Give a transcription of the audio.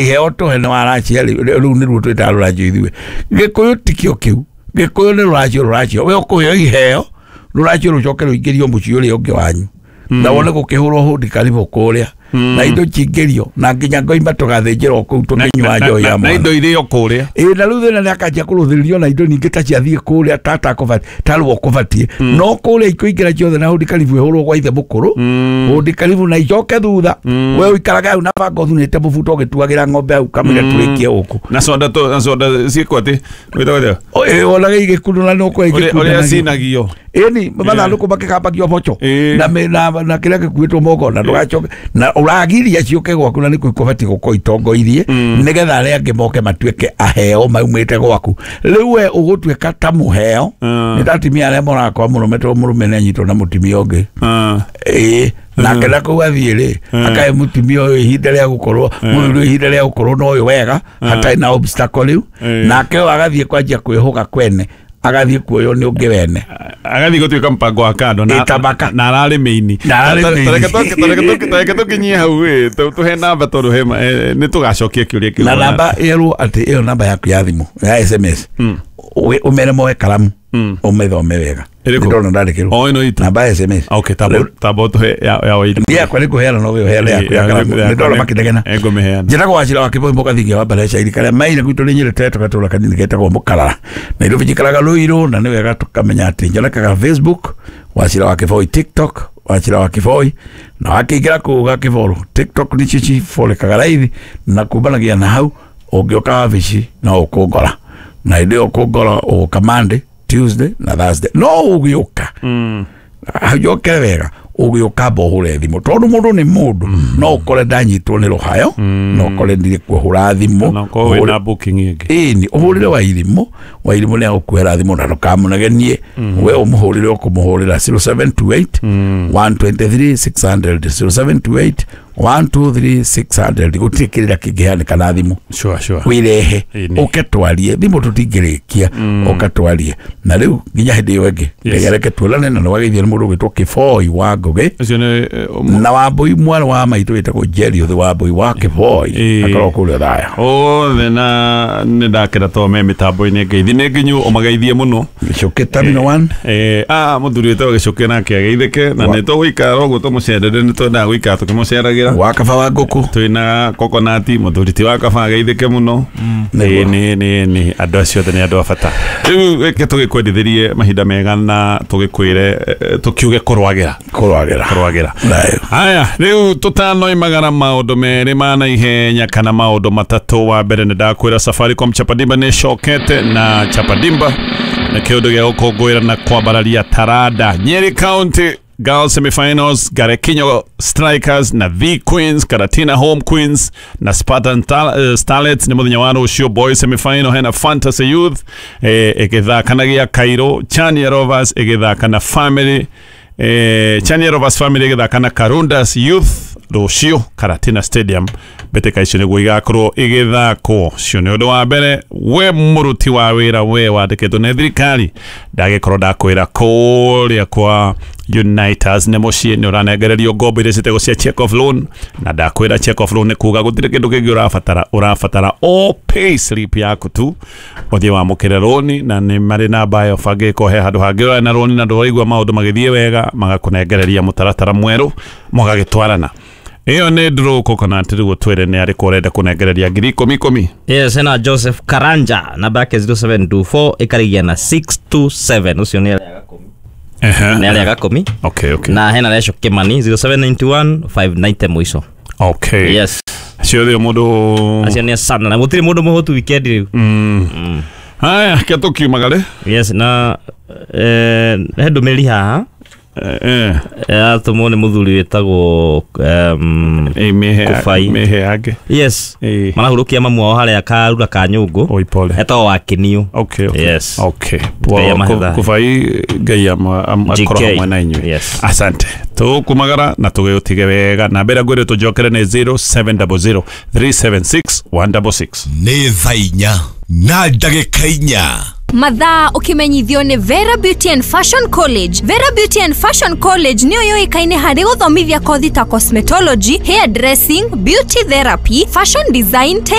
Iheo tũhe nĩ waracia rĩu nĩruo twĩtaga rũracio ithuĩ. Gĩkũyũ tikĩo kĩu. Gĩkũyũ nĩ rũracio rũracio. We ũkũheo iheo rũracio rũcoke rũingĩrio mũciĩ ũrĩa ũngĩ wanyu. Na wone gũkĩhũrwo hũndi karibu kũrĩa. Na indo cingĩrio na nginya ngoima tũgathĩnjĩrwo kũu tũkĩnyua njohi ya na mwana. indo irio kũrĩa. Ĩĩ na rĩu thĩna nĩ akanjia kũrũthĩrĩrio na indo ningĩ ta ciathiĩ kũrĩa tatakũbatiĩ tarwo kũbatiĩ no kũrĩa ikũingĩra ciothe na hũndi karibu ĩhũrwo gwa ithe mũkũrũ hũndi karibu na icoke thutha we ũikaraga hau na banga ũthunĩte mũbuto ũgĩtuagĩra ng'ombe hau kamũira tũrĩkie gũkũ Na soda to na soda ciĩkwo atĩ wĩtagwo atĩa? Ĩĩ wonaga igĩkunũra nĩ ũkũrĩa Ũrĩa igĩkunũra cinagio. Ĩni mathandũkũ makĩgambagio boco Ĩĩ. na na kĩrĩa gĩkuĩtwo moko na ndũgacoke na ũragiria ciũke gwaku na nĩkuo ikũbatiĩ gũkorwo itongoirie nĩgetha arĩa angĩ moke matuĩke aheo maumĩte gwaku. Rĩu we ũgũtuĩka ta mũheo nĩ ta atumia arĩa moraga kwa mũrũme tondũ mũrũme nĩanyitwo na mũtumia ũngĩ. Ĩĩ nake na kũu athiĩ rĩ akahe mũtumia ũyũ ihinda rĩa gũkorwo mũthuri ihinda rĩa gũkorwo na ũyũ wega hatarĩ na obstacle rĩu nake ũyũ agathiĩ kwanjia kwĩhũga kwene agathiĩ kuoywo nĩ ũngĩ wene. Agathiĩ gũtuĩka mpango wa kando na Ĩ, tabaka. na ararĩ mĩini. Na ararĩ mĩini. Tareke tũkinyie hau ĩ tũhe namba tondũ he nĩ tũgacokia kĩũria kĩu. Na namba ĩrwo atĩ ĩyo namba yaku ya thimũ ya SMS ũmere moe karamu ũmĩthome wega. Ĩrĩkũ? Ndĩrona ndandĩkĩrwo. O ĩno itũ. Namba ya SMS. Okay, tabo tũhe ya wairi. Niĩ yakwa nĩ kũheana no we ũheane yaku ya karamu. Nĩ ndona makĩnegena. Ngũmĩheana. Njĩtagwo Wachira wa Kĩboi Mũgathingia wa Mbareca irika rĩa Maina gwitũ nĩ Nyĩrĩ Teto gatũra kanini getagwo Mũkarara. Nairobi njikaraga Ruiru na nĩ wega tũkamenya atĩ njonekaga Facebook Wachira wa Kĩboi, TikTok Wachira wa Kĩboi na wakĩingĩra kũu gakĩboro TikTok nĩcio ciborekaga raithi na kumbanagia na hau ũngĩũka wabici no ũkũngora na hĩndĩ ĩyo ũkũngora ũgũka Monday, Tuesday na Thursday no ũgĩũka njokere wega ũgĩũka amba ũhũre thimũ tondũ mũndũ nĩ mũndũ no ũkore ndanyitwo nĩ rũhayo no ũkore ndirĩ kuhũra thimũ Na ũkorwo wĩna booking ĩngĩ. Ĩni ũhũrĩre Wairimũ Wairimũ nĩ agũkuhera thimũ na ndũkamũnegenie we ũmũhũrĩre ũkũmũhũrĩra 0728 123 600 0728 123 600 gũtirĩ kĩrĩra kĩngĩhanĩka na thimũ. Sure, sure. Wĩrehe Ĩni. ũke twarie thimũ tũtingĩrĩkia ũke twarie na rĩu nginya hĩndĩ ĩyo ĩngĩ Ngai areke tuonane na nĩwageithio nĩ mũndũ ũgwĩtwo Kĩboi wa Ngũgĩ Ũcio nĩ na Wambũi mwarĩ wa maitũ wĩtagwo Jerry Ũthĩ Wambũi wa Kĩboi akorwo kũrĩa thaya othe na nĩ ndakĩra to me mĩtambo-inĩ ngeithi nĩ nginyu ũmageithie mũno. Gĩcũkĩ Terminal 1. Mũthuri wĩtagwo Gĩcũkĩ nake ageithĩke na nĩ tũgũikara ũguo tũmũcerere nĩ twendaga gũikara tũkĩmũceragĩra. Wa kaba wa ngũkũ Twĩna kokonati mũthuri ti wa kaba ageithĩke mũno. Nĩguo. Ĩ, nĩ andũ acio othe nĩ andũ a bata. Rĩu reke tũgĩkwendithĩrie mahinda mega na tũgĩkwĩre tũkiuge kũrwagĩra. Kũrwagĩra. Kũrwagĩra. Thayũ. Haya, rĩu tũtanoimagara maũndũ merĩ ma naihenya kana maũndũ matatũ. Wa mbere nĩ ndakwĩra Safaricom Chapadimba nĩ ĩcokete na Chapadimba nĩ kĩũndũ gĩa gũkũngũĩra na kwambararia taranda. Nyeri County Girls Semifinals, Garekinyo Strikers na The Queens, Karatina Home Queens na Spartan Starlets nĩ mũthenya wa rũciũ. Boys Semifinal hena Fantasy Youth ĩgĩthaka na gĩa Cairo, Chania Rovers ĩgĩthaka na Family Chania Rovers Family ĩgĩthaka na Karundas Youth rũciũ Karatina Stadium. Mbĩtĩka icio nĩguo igakorwo igĩthakwo. Cio nĩ ũndũ wa mbere we mũruti wa wĩra we wandĩkĩtwo nĩ thirikari ndagĩkorwo ndakwĩra kũrĩa kwa Uniters nĩ mũciĩ nĩ ũranengererio ngombo iria ciĩtagwo cia check off loan na ndakwĩra check off loan nĩ kuga gũtirĩ kĩndũ kĩngĩ ũrabatara ũrabatara o pay slip yaku tu ũthiĩ wamũkĩre rũni na nĩ marĩ namba ĩyo bangĩko he handũ hangĩ ũrarĩ na rũni na ndũraigua maũndũ magĩthiĩ wega magakũnengereria mũtaratara mwerũ mũgagĩtwarana. Ĩyo nĩ draw coconut rĩu twĩre nĩ arĩkũ ũrenda kũnengereria ngiri ikũmi ikũmi. Yes, hena Joseph Karanja namba yake 0724 ĩkarigia na 627 ũcio nĩ arĩa gakũmi. Nĩ arĩa gakũmi. Okay, okay. Na hena Resho Kimani 0791 590 mũico. Okay. Yes. Ciothe mũndũ Acio nĩ sana na gũtirĩ mũndũ mũhũtu weekend rĩu. Haya, ke tũkiumagare. Yes, na he ndũmĩrĩri haha yatũmwo nĩ mũthuri wĩtagwo Kũbai. Mĩhe yake. Yes. Ĩĩ. Marahurũkia mamu wao harĩa karura ka nyũngũ. Oi pole. Etagwo Wakĩniũ. Okay, okay. Yes. Okay. Ngai amahe Kũbai Ngai akorwo GK. hamwe na inyuĩ. Yes. Asante. Tũkumagara na tũgĩũtige wega na mbere ngwĩre tũjokere nĩ 0700 376 166. Nĩ thaa inya na ndagĩka inya. Mathaa ukimenyithio nĩ Vera Beauty and Fashion College. Vera Beauty and Fashion College nĩyo yũĩkaine harĩ gũthomithia kothi ta cosmetology, hair dressing, beauty therapy, fashion design,